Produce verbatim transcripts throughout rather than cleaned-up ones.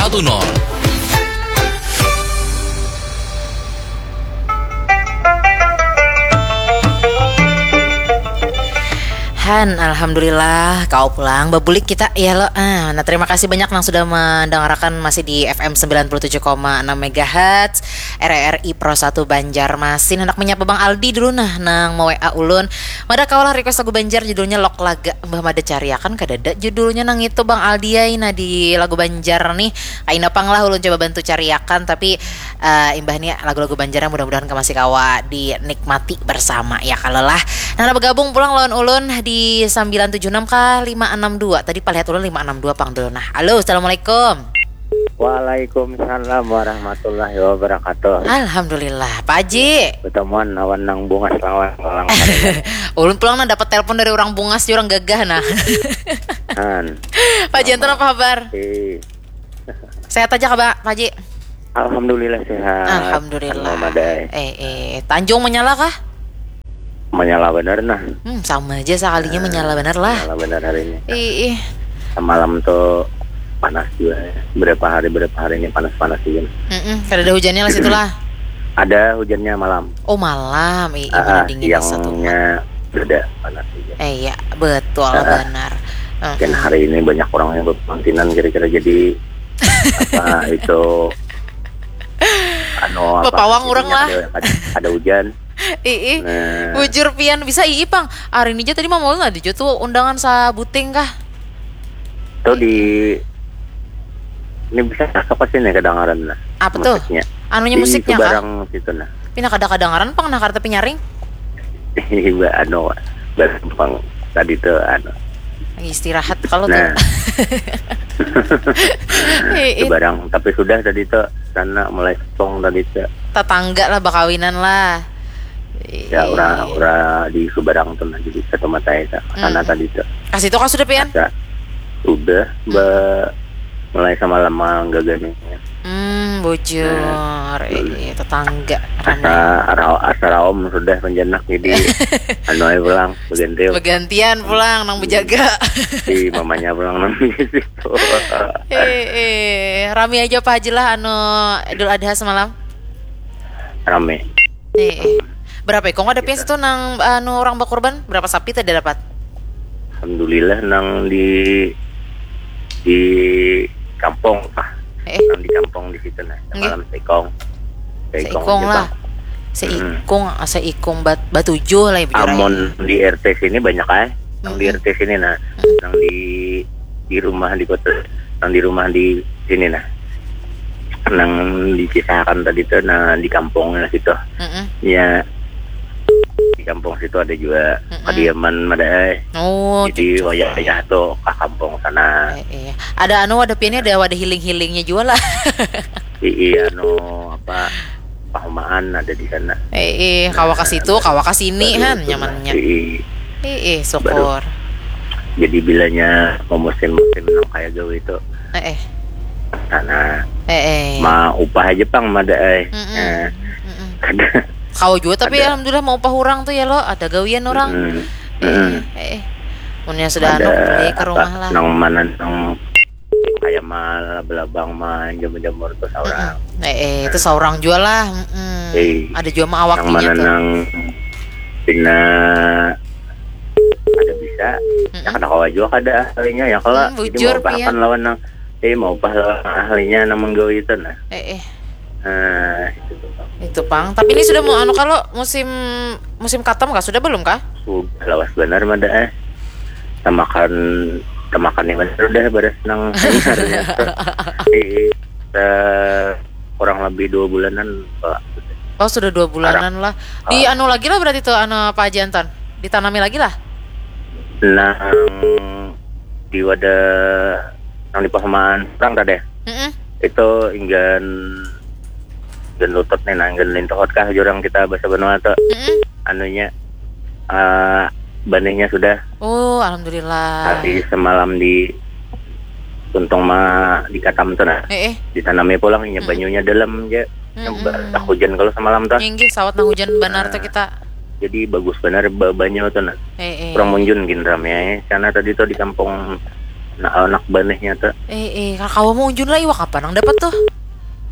satu nol. Han, alhamdulillah, kau pulang. Babulik kita, ya lo. Ah, nah, terima kasih banyak nang sudah mendengarkan masih di F M sembilan puluh tujuh koma enam megahertz, R R I Pro satu Banjarmasin. Hendak menyapa Bang Aldi dulu nah, nang me-W A ulun. Mada kawalah request lagu Banjar judulnya Lok Laga. Mbah mada cariakan kadada judulnya nang itu Bang Aldi ai. Nah, di lagu Banjar nih, kaina pang lah ulun coba bantu cariakan, tapi eh, imbah ni lagu-lagu Banjar yang mudah-mudahan ka masih kawa dinikmati bersama ya kalo lah. Nah, bergabung pulang lawan ulun di sembilan tujuh enam ka lima enam dua. Tadi palihat ulun lima enam dua pang dulu. Nah, halo, assalamualaikum. Waalaikumsalam warahmatullahi wabarakatuh. Alhamdulillah, Pak Haji. Ketemuan lawan nang bungas lawan orang. Ulun pulang nah dapat telepon dari orang bungas, orang gagah nah. Han. Pak Haji, antar apa kabar? Sehat aja kah, Pak Haji? Alhamdulillah sehat. Alhamdulillah. Anu, madai. Eh, eh, Tanjung menyala kah? Menyala bener nah. Hmm, sama aja sekalinya. Nah, menyala bener lah. Menyala bener hari ini. Ih, ih. Semalam tuh panas juga ya. Berapa hari, berapa hari ini panas-panas juga. Mm-mm, kada ada hujannya lah situ lah. Ada hujannya malam. Oh, malam. Ih, ih, ah, dingin siangnya satu. Beda panas juga. Eh, iya, betul. Ah, benar. Dan hari ini banyak orang yang berpengantinan kira-kira jadi apa itu, anu, apa, bapawang orang lah. Ada, ada hujan. Ih, ih. Nah. Bujur pian bisa ii pang. Hari ini aja tadi Mama Ulun ada juga tuh undangan sabuting kah? Tuh di ini bisa apa sih nih kedengaran lah. Apa tuh? Musiknya. Anunya di musiknya kah? Subarang situ nah. Pina kada kedengaran pang nah karena tapi nyaring. Iba anu barang pang tadi tuh anu. Lagi istirahat kalau nah. Tuh. Ih, ih. Subarang tapi sudah tadi tuh sana mulai sepong tadi tuh. Tetangga lah bakawinan lah. Ya, ura, ura di Subarang tuh nah, jadi satu mata ya, sana tadi tuh. Kasih tuh kau sudah pian? Asa, sudah, hmm. Mulai sama lama gagannya. Hmm, bujur. Nah, eh, tetangga. Asa rau, asa raom sudah penjenak jadi anu aja pulang, berganti. Bergantian pulang nang berjaga. Si mamanya pulang nang di situ. Eh, eh, rami aja apa aja lah anu Idul Adha semalam? Rame. Eh, eh. Berapa ikung ada pian situ nang anu orang bakurban? Berapa sapi tadi dapat? Alhamdulillah nang di di kampung ah. Eh. Nang di kampung di situ nah. Semalam seikung. Seikung lah. Seikung, ah, seikung bat batujuh lah ibu. Amun di R T sini banyak ah. Nang di R T sini nah. Nang di di rumah di kota, nang di rumah di sini nah. Nang dikisahkan tadi tuh nah di kampungnya situ. Mm-mm. Ya di kampung situ ada juga kediaman madai. Oh, jadi wayah-wayah tuh ke kampung sana. Eh, iya. Ada anu wadah piannya ada wadah healing-healingnya juga lah. Iya anu apa pahumaan ada di sana. Eh, eh, kawa ke situ, kawa ke sini han nyamannya. Eh, eh, syukur. Jadi bilanya mau musim-musim nang kayak gawe itu. Eh, eh. Sana. Eh, eh. Ma upah aja pang mada eh. Mm-mm. Eh. Mm-mm. Ada. Kau juga tapi ada. Alhamdulillah mau upah orang tuh ya lo, ada gawian orang. Mm-mm. Eh, eh, eh. Munnya sudah ada anu, beli ke rumah lah. Nang mana nang kayak mal belabang mah jamur-jamur tuh seorang. Mm-mm. Eh, eh, itu seorang juga lah. Mm-mm. Eh, ada juga mah awaknya nang mana tuh. Nang pina ada bisa, mm-mm. Ya kada kawa juga kada ahlinya ya kalau hmm, jadi bujur, mau bahkan lawan nang eh mau bah lawan ahlinya nang menggawi itu nah. Eh, eh. Nah, itu tuh. Itu pang. Tapi ini sudah mau anu kalau musim musim katam kah? Sudah belum kah? Sudah lawas benar mada eh. Tamakan tamakan ini benar udah beres nang di eh, kurang lebih dua bulanan Pak. Oh sudah dua bulanan lah. Di anu lagi lah berarti tuh anu Pak Haji Anton ditanami lagi lah. Nang di wadah nang di pasamaan perang tadi. Mm-mm. Itu inggan inggan lutut nih nah inggan lintuhot kah jurang kita bahasa Banua tuh. Mm-mm. Anunya eh, benihnya sudah. Oh alhamdulillah. Tapi semalam di untung ma di katam tuh nah. Eh, eh. Ditanami pulang inya banyunya dalam aja. Mm-mm. Nyebar tak hujan kalau semalam tuh. Inggih sawat nang hujan benar tuh kita. Jadi bagus benar ba- banyu tuh nah. Eh, eh. Kurang munjun gin rame sana tadi tuh di kampung Nah, anak banihnya tuh. Eh, eh, kalau kawa mau unjun lah iwak apa nang dapat tuh?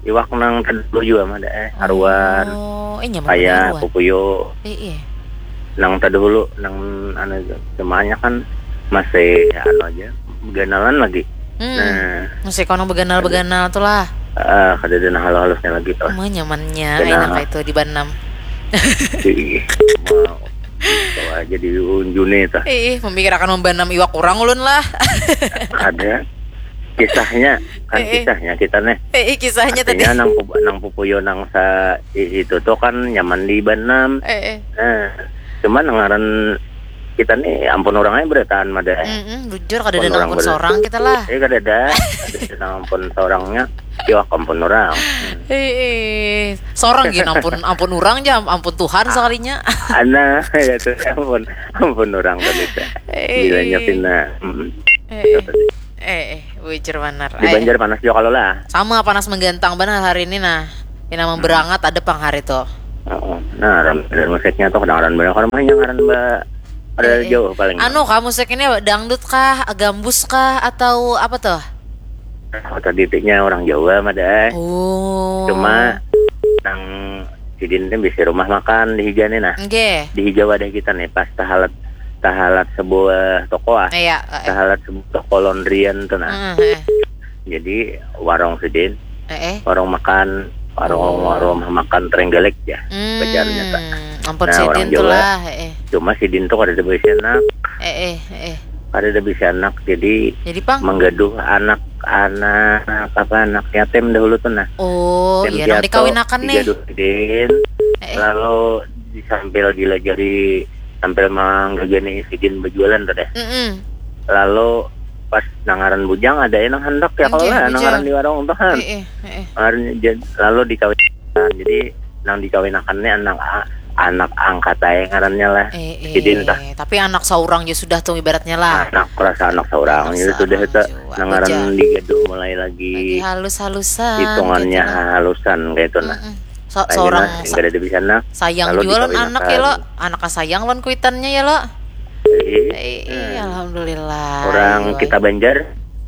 Iwak nang tadi dulu juga mah ada eh haruan, Oh, eh nyaman kayak haruan. Pupuyo. Eh, eh. Nang tadi dulu nang anu semuanya kan masih anu aja ganalan lagi. Hmm. Nah, Masih kono beganal-beganal tuh lah. ah kada ada nang halus-halusnya lagi tuh. Mah nyamannya, Benar. Enak itu di Banam. Ih, mau bawa aja di unjune tuh. Eh, memikirkan membanam iwak orang ulun lah. Ada kisahnya kan Eh, eh. Kisahnya kita nih. Eh, eh, kisahnya tadi. Artinya nang pup- nang Pupuyo nang sa i- itu tuh kan nyaman di Banam. Eh, eh. Nah, cuma nang ngaran kita nih ampun orangnya berataan mada. Mm-mm, bujur kada ada Ampun orang ampun ber- seorang kita lah. Eh kada ada, ada nang ampun seorangnya, iwak ampun orang. Eh, eh. Seorang gini ampun ampun orang aja ampun Tuhan sekalinya. Ana ya tuh ampun ampun orang tadi teh. Eh, Bilanya eh. pina. Mm. Eh, eh, eh, bujur banar. Di Eh, Banjar panas juga kalau lah. Sama panas menggantang benar hari ini nah. Ini memberangat ada pang hari tuh. Oh, nah, ram dan musiknya tuh kedengaran banyak orang mah yang ngaran ba ada Eh, eh. Jauh paling. Anu kah musik ini dangdut kah, gambus kah atau apa tuh? Kota titiknya orang Jawa mah deh. Oh. Cuma nang sidin teh bisi rumah makan di higa nih nah. Nggih. Di higa wadah kita nih pas tahalat tahalat sebuah toko ah. Iya, eh, eh. Tahalat sebuah toko laundryan tuh nah. Hmm, eh. Jadi warung sidin, Eh, eh. warung makan, warung Oh. warung makan Trenggalek ya. Hmm, Pacarnya tak. Ampun Nah, orang sidin tuh Jawa. Lah, eh, eh. Cuma sidin tuh kada ada bisi anak, Eh, eh, eh, eh. kada ada bisi anak. Jadi Jadi pang. Menggaduh anak anak apa anak yatim dahulu tuh nah. Oh, Yatim iya nang piatu dikawinakan nih. digaduh sidin. Eh, eh. Lalu di sambil dilajari sambil menggagani sidin berjualan tuh deh. Mm-mm. Lalu pas nang ngaran bujang ada yang nang handak ya kalau Oke, lah nang bujang. Ngaran di warung tuh kan. Eh, eh, eh, eh. Ngaran jad- lalu dikawin. Jadi nang dikawinakan nih anak anak angkat aja ngarannya lah. Eh, eh. Sidin tah. Tapi anak seorang ya sudah tuh ibaratnya lah. Anak rasa anak seorang Anak jadi sudah seorang itu jua. Nang ngaran Bujang. Digaduh mulai lagi. Lagi halus-halusan Hitungannya gitu lah. Halusan kayak itu nah. Mm-mm. So- Akhirnya seorang sehingga ada di sana. Sayang Lalu juga lon dikawinakan. Anak ya lo. Anak sayang lon kuitannya ya lo. Jadi, Eh, eh, alhamdulillah. Orang Iya, kita Banjar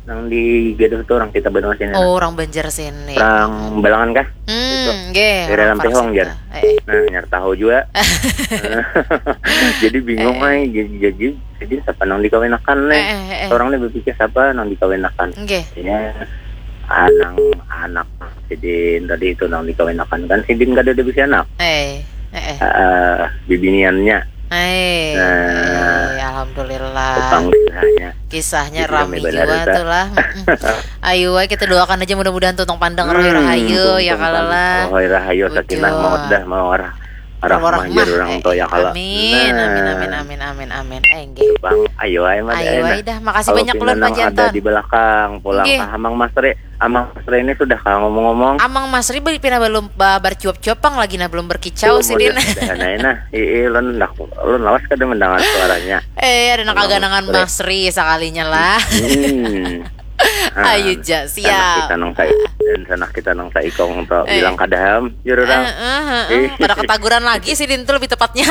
nang di Gaduh tuh orang kita Banua sini. Oh, orang Banjar sini. Orang Balangan kah? Hmm, nggih. Daerah Orang Lampihong, Parsik Jar. lah. Eh, eh. Nah, nyar tahu juga. Jadi bingung Eh, eh. Ay. Jadi, jadi, jadi siapa nang dikawinakan nih? Eh, eh, eh, eh. Orang nih berpikir siapa nang dikawinakan. Nggih. Ya, anang anak sidin tadi itu nang dikawinakan kan sidin kada ada bisi anak. Eh, eh, eh. Eh, bibiniannya Eh, Nah. eh, alhamdulillah. Tukang kisahnya. Kisahnya Jadi rami rame banar juga itu. Tuh lah. Mm-mm. Ayo wae kita doakan aja mudah-mudahan tuh tong pandang roy Hmm, rahayu ya untung kalau kan. lah. Roy rahayu Betul. Sakinah mawaddah mawarah warahmah Warahmah, jar orang eh, tuh ya kalau. Amin, amin, Nah. Amin, amin, amin, amin. Eh, nggih. Bang, ayo ayo mah Ayo nah. ayo dah, makasih Kalau banyak pina Lun nang Pak Janton. Ada di belakang pulang Nggih. Ke Amang Masri. Amang Masri ini sudah kah ngomong-ngomong? Amang Masri beli pina belum ba- bercuap-cuap pang lagi nah belum berkicau Belum sih Din. Ada nah, nah. Ih, ih, lun dah lun lawas kada mendengar suaranya. Eh, ada nang Amang kaganangan Masri. Masri sekalinya lah. Hmm. Ah, Ayo ja, sanak siap. Kita nang sai dan sanak kita nang saikong tuh Eh. Bilang kadaham jururang. Eh, eh, eh, eh. Pada ketaguran lagi sih Din tuh lebih tepatnya.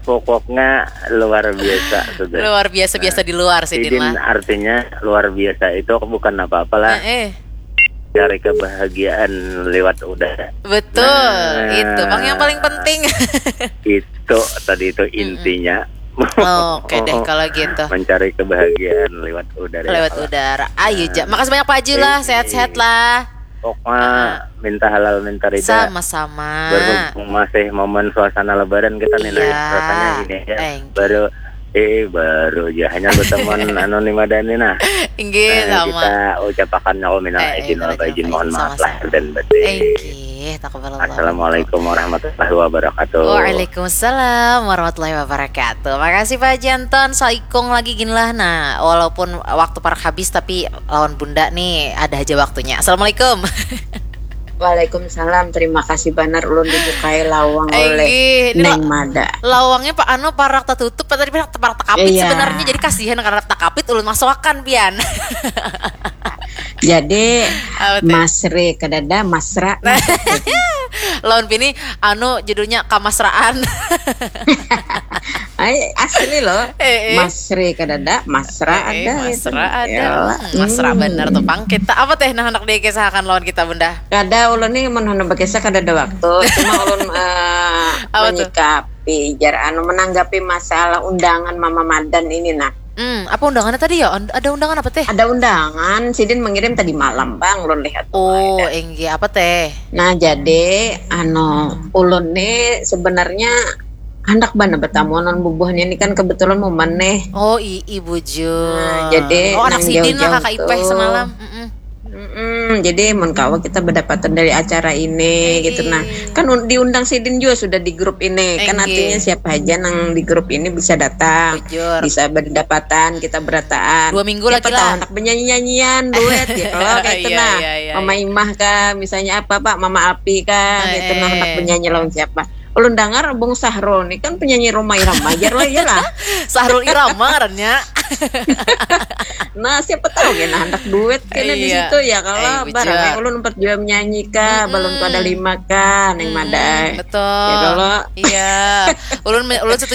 Pokoknya luar biasa sudah. Luar biasa biasa di luar sih Din Sidin lah. Artinya luar biasa itu bukan apa-apa lah. Eh, eh. Cari kebahagiaan lewat udara. Betul, Nah. Itu bang yang paling penting. Itu tadi itu intinya. Oke deh kalau gitu. Mencari kebahagiaan lewat udara. Lewat udara. Ayo ja. Makasih banyak Pak Haji lah. Sehat-sehat lah. Pokoknya minta halal minta rida. Sama-sama. Berhubung masih momen suasana lebaran kita nih Iya. Nah, rasanya ini ya. Thank you. Baru eh baru aja hanya bertemuan anu nih madani nah. Inggih Nah, sama. Kita ucapakan ya minal Eh, eh, aidin wal minal faizin aidin, mohon maaf sama-sama. Lahir dan batin. Inggih, taqabbalallahu. Assalamualaikum warahmatullahi wabarakatuh. Waalaikumsalam warahmatullahi wabarakatuh. Makasih Pak Janton, saikung lagi gin lah. Nah, walaupun waktu parak habis tapi lawan Bunda nih ada aja waktunya. Assalamualaikum. Waalaikumsalam, terima kasih banar ulun dibukai lawang Eh, oleh inggih, ini Neng la- Mada. Lawangnya Pak anu parak tertutup, tadi parak, parak tekapit Iya. Sebenarnya jadi kasihan karena tekapit ulun masuakan pian. Jadi Apa tuh? Masri kadada Masra. Lawan bini anu judulnya Kamasraan. Ai, asli loh. Eh, eh. Masri kadada, masra Eh, eh, ada. masra Gitu. ada. Yalah. Hmm, masra Hmm. benar tuh, Pang. Kita apa teh nah hendak dikesahakan lawan kita, Bunda? Kada, ulun nih mun handak bakisah kada ada waktu. Cuma ulun eh, Apa tuh? menyikapi jar anu, menanggapi masalah undangan Mama Madan ini nah. Hmm, apa undangannya tadi ya? Und- Ada undangan apa teh? Ada undangan, sidin mengirim tadi malam bang, ulun lihat. Oh, Ada. Enggih, apa teh? Nah jadi anu ulun nih sebenarnya handak bana bertamu non bubuhnya ini kan kebetulan momen nih. Oh, i, i bujur. Nah, jadi Oh, anak nang sidin lah, jauh-jauh kakak Ipeh tuh. Semalam. Mm-mm. Mm-mm, jadi mun kawa kita berdapatan dari acara ini Enggih. gitu nah. Kan un- diundang sidin juga sudah di grup ini. Kan Enggih. Artinya siapa aja nang di grup ini bisa datang. Bujur. Bisa berdapatan, kita berataan. Dua minggu Siapa lagi tahu lah. Anak bernyanyi-nyanyian, duet gitu loh kayak itu Iya, nah. iya, iya, Mama iya. Imah kah, misalnya apa Pak, Mama Alpi kah, Eh, gitu nah eh. Anak bernyanyi lawan siapa. Ulun dengar Bung Sahrul nih kan penyanyi Rhoma Irama aja lah ya lah. Sahrul Irama ngarannya. Nah siapa tahu ya nah anak duet kena di Iya. situ ya kalau Eh, bujur. barang kayak ulun empat juga menyanyi kah, balon ada lima kah, neng Hmm, madai. Betul. Ya kalau Iya. Ulun ulun setuju